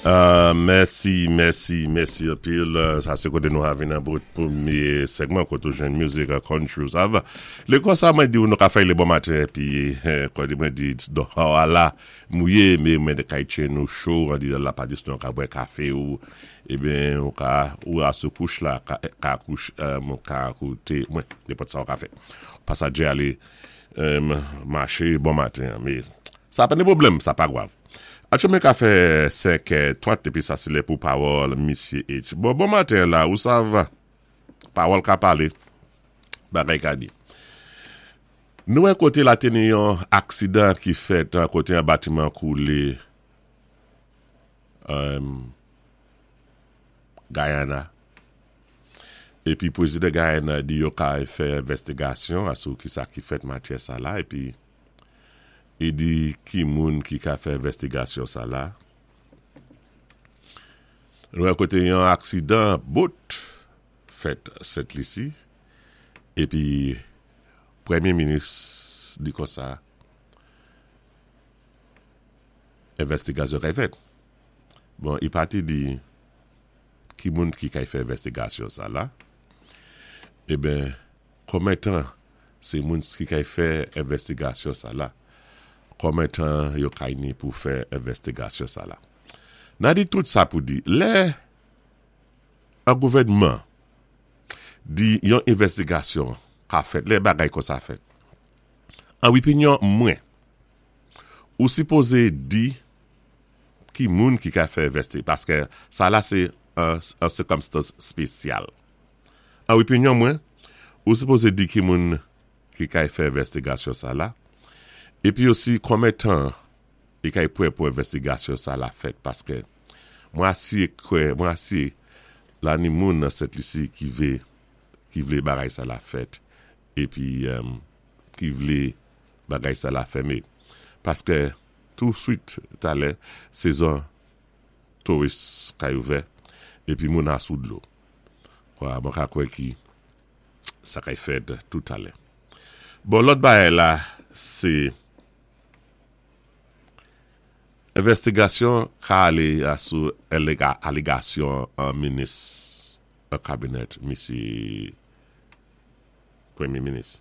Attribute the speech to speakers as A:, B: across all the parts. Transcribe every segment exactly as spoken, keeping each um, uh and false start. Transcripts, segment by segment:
A: Uh, mèsi, mèsi, mèsi anpil. Sa sé koté nou avin nan bout pwémyé segman koté ou jwenn music country ou sav. Lè konsa mwen di ou nou ka fè lé bon maten épi koté mwen di do ala mouyé mé mwen de kay nou cho an di la pa dis nou ka bwè kafé ou eben ou ka ou a sou kouch la ka, ka kouch um, ka kouté mwen nenpòt sa ou ka fè. Pasaje alé um, maché bon maten mé sa pa ni pwoblèm, sa pa gwav. Atchoumen ka fè senk twant épi sa sé lè pou pawòl Misye H. Bon, bon maten la, ou sav pawòl ka palé, bagay ka di. Nou wè koté la té ni yon aksidan ki fèt koté yon batiman koulé um, Guyana. Épi pwézidan Guyana di yo ka fè envèstigasyon asou ki sa ki fèt matyè sa la épi i di ki moun ki ka fè envèstigasyon sa la. Nou wè koté yon aksidan boat fèt Sent Lisi épi pwémyé minis di konsa envèstigasyon kay fèt. Bon, i pa té di ki moun ki kay fè envèstigasyon sa la. Eben, konmen tan sé moun ki kay fè envèstigasyon sa la? Konmen tan yo kay ni pou fè envèstigasyon sa la? Nan di tout sa pou di, lè an gouvèdman di yon envèstigasyon ka fèt, lè bagay kon sa fèt. An opinyon mwen, ou sipozé di ki moun ki ka fè envèsti, paské sa la sé an, an sikonstans spésyal. An opinyon mwen, ou sipozé di ki moun ki ka fè envèstigasyon sa la, épi osi konmen tan i kay pwan pou envèstigasyon sa la fèt, paské mwen asi kwè, mwen asi la ni moun nan Sent Lisi ki vlé, ki vlé bagay sa la fèt, épi um, ki vlé bagay sa la fèmé. Paské touswit talè, sezon touris kay ouvè, épi moun asou dlo. Kwa, mwen ka kwè ki sa kay fèt tout talè. Bon, lòt bagay la, sé envèstigasyon ka alé asou alégasyon an minis an kabinèt misye pwémyé minis.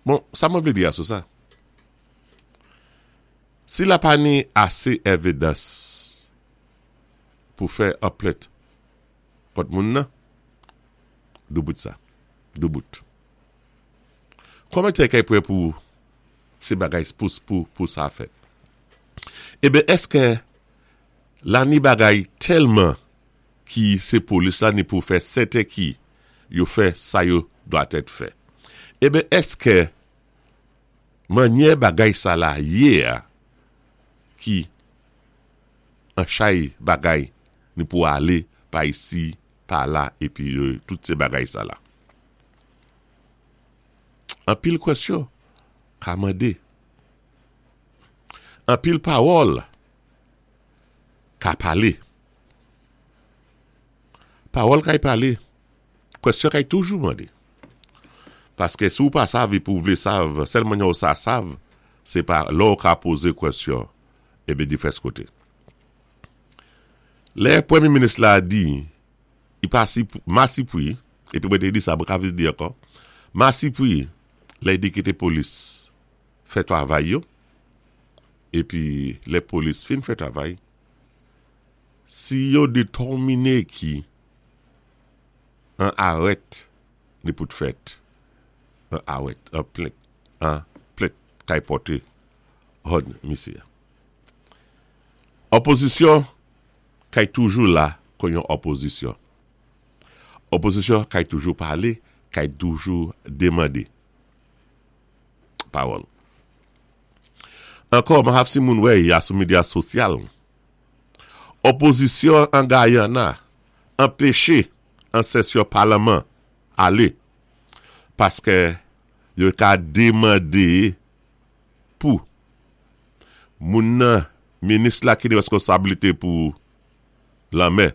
A: Bon, sa mwen vlé di asou sa. Si la pa ni asé évidans pou fè an plent kont moun nan, doubout sa. Doubout. Konmen tan kay pwan pou sé bagay pou, pou, pou sa fèt? Eben, èské la ni bagay tèlman ki sé polis la ni pou fè sèten ki yo fè sa yo dwatèt fè. Eben, èské mannyè bagay sa la yé a ki an chay bagay ni pou alé pa isi, pa la, épi euh, tout sé bagay sa la. Anpil kwèsyon ka mandé. Anpil pawòl ka palé. Pawòl kay palé. Kwèsyon kay toujou mandé. Paské si ou pa sav épi ou vlé sav, sèlman yo sa sav, sé pa lò ou ka pozé kwèsyon eben difès koté. Lè pwémyé minis la di, i pa si masipwi, épi mwen té di sa, mwen ka vin di ankò, masipwi, lè di kité polis fè travay yo, épi lè polis fin fè travay, si yo détèminé ki an arèt ni pou fèt, an arèt, an plent, an plent kay pòté hòn misye. Opozisyon kay toujou la kon yon opozisyon. Opozisyon kay toujou palé, kay toujou démandé. Pawòl. Ankò, mwen si moun wè ya sou medya sosyal. Opozisyon an Guyana anpéché an sesyon palman alé paské yo ka démandé pou moun nan minis la ki ni weskonsabilité pou lanmè.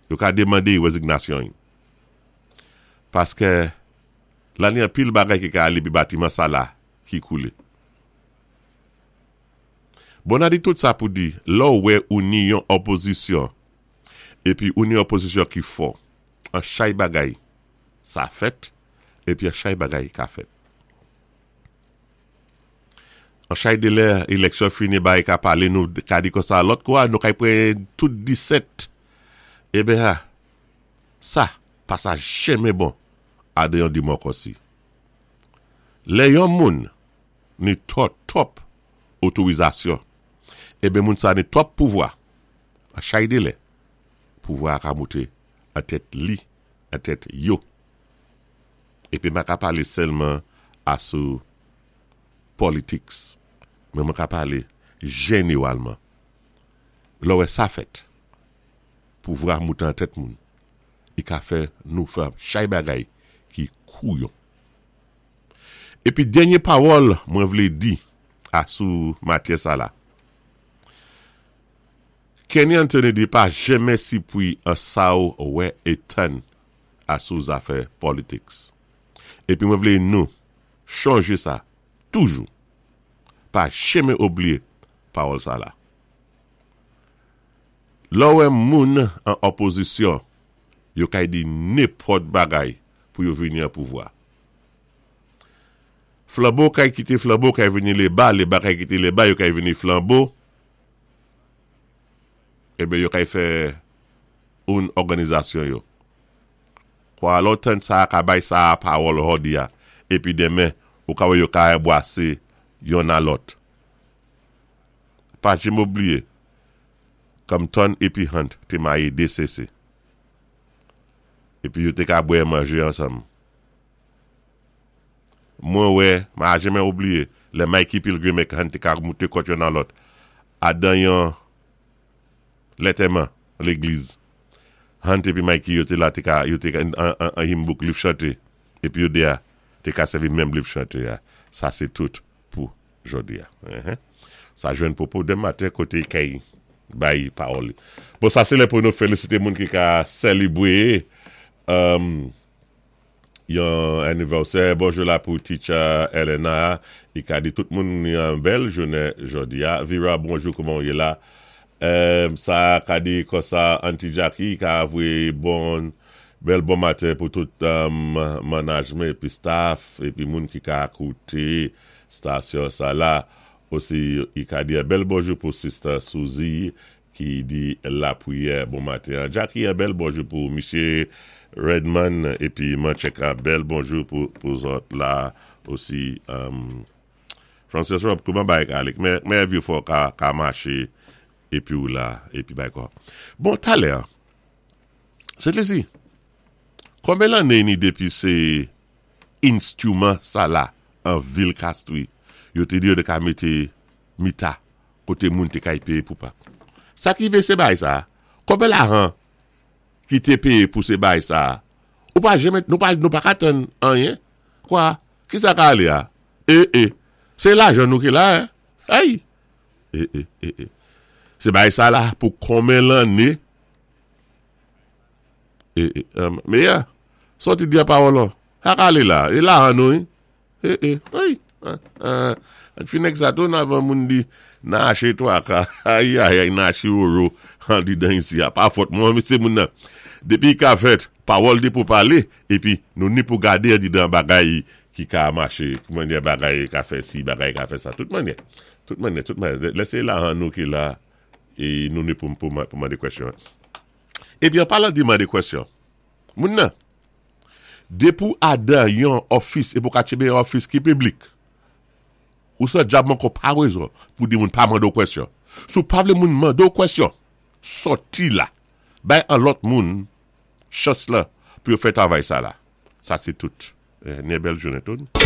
A: Yo ka démandé wézignasyon. Paské la ni anpil bagay ki ka alé pi batiman sa la ki koulé. Bon, an di tout sa pou di, lò wè ou ni yon opozisyon, épi ou ni opozisyon ki fò, an chay bagay, sa fèt, épi an chay bagay ka fèt. An chay de lè éleksyon fini bay ka palé nou ka di kon sa lòt kwa, nou kay pran tout disèt. Ében ha, sa, pa sa jenmen bon adan yon démokrasi. Lè yon moun ni twòp twòp otorizasyon, ében moun sa ni twòp pouvwa, an chay de lè, pouvwa ka mouté an tèt li, an tèt yo. Épi mwen ka palé sèlman asou politics, men mwen ka palé jénéwalman. Lò wè sa fèt, pouvwa mouté an tèt moun, i ka fè nou fè chay bagay ki kouyon. Épi dènyé pawòl mwen vlé di asou matyè sa la. Kenny Anthony di pa jenmen sipwi an sa ou wè é tann asou zafè politics. Épi mwen vlé nou chonjé sa toujou. Pa jenmen oubliyé pawòl sa la. Lò wè moun an opozisyon, yo kay di nenpòt bagay pou yo vini an pouvwa. Flanbo kay kité Flanbo kay vini Léba, Léba kay kité Léba, yo kay vini Flanbo. Ében yo kay fè oun òganizasyon yo. Kwa lò tan sa ka bay sa pawòl jòdi a, épi denmen, ou ka wè yo ka bwasé youn a lòt. Pa jenmen oubliyé, Compton épi Hunt té mayé dé sésé. Épi yo té ka bwè manjé ansanm. Mwen wè, ma jenmen oubliyé, lè Mikey Pilgrim ek Hunt té ka mouté kòt youn a lòt. Adan yon lantèman légliz. Hunt épi Mikey yo té la té ka, yo té ka an, an, an hymn book liv chanté. Épi yo dé a, té ka sèvi menm liv chanté a. Sa sé tout pou jòdi a. Uh-huh. Sa jwenn popo denmen maten koté kay bay pawòl. Bon, sa sé lè pou nou félisité moun ki ka sélébwé um, yon anivèsè. Bonjou la pou teacher Elena. I ka di tout moun yon bèl jounen jòdi a. Vera, bonjou, kouman ou yé la? Um, sa ka di kon sa Auntie Jackie ka vwé bon bèl bon maten pou tout um, management épi staff épi moun ki ka kouté stasyon sa la. Osi i ka di bèl bonjou pou sister Suzy ki di lapriyè bon maten. Jackie, un bèl bonjou pou Mesye Redman épi Mancheka, bèl bonjou pou, pou zòt la osi. Um, Francis Rob, kouman bay ka alé? Mè, mè vyé fò ka, ka maché épi ou la, épi bay kwa. Bon, talè, Sent Lisi, konbyen lanné ni dépi sé instrument sa la an vil Castries, yo té di yo té ka mété mita koté moun té kay péyé pou pak. Sa ki vé sé bay sa, konbyen lajan ki té péyé pou sé bay sa, ou pa jenmen, nou pa, nou pa ka tann anyen, kwa, ki sa ka alé a? É, é, sé lajan nou ki la, hein? Ay! É, é, é, é. Sé bay sa la pou konbyen lanné? É, é, um, mé ya, sòti di a pawòl an, sa ka alé la, é lajan nou, é, é, ay, ah, ah, ak fi nèg sa tou avan moun di na aché twa ka, ay, ay, ay, na aché woro, an di dan isi a, pa fòt mwen, sé moun nan. Dépi ka fèt, pawòl di pou palé, épi nou ni pou gadé an di dan bagay ki ka maché, mannyè bagay ka fè si, bagay ka fè sa, tout mannyè, tout mannyè, tout mannyè. Lè sé lajan nou ki la, é nou ni pou, pou, pou mandé kwèsyon. Épi an palan di mandé kwèsyon, moun nan, dépi ou adan yon office, é pou ka tchébé yon office ki piblik, ou sa djab ankò pa wézon pou di moun pa mandé ou kwèsyon. Sou pa vlé moun mandé ou kwèsyon, sòti la, bay an lòt moun, chans la, pou yo fè travay sa la. Sa sé tout. Eh, ni bèl jounen tout.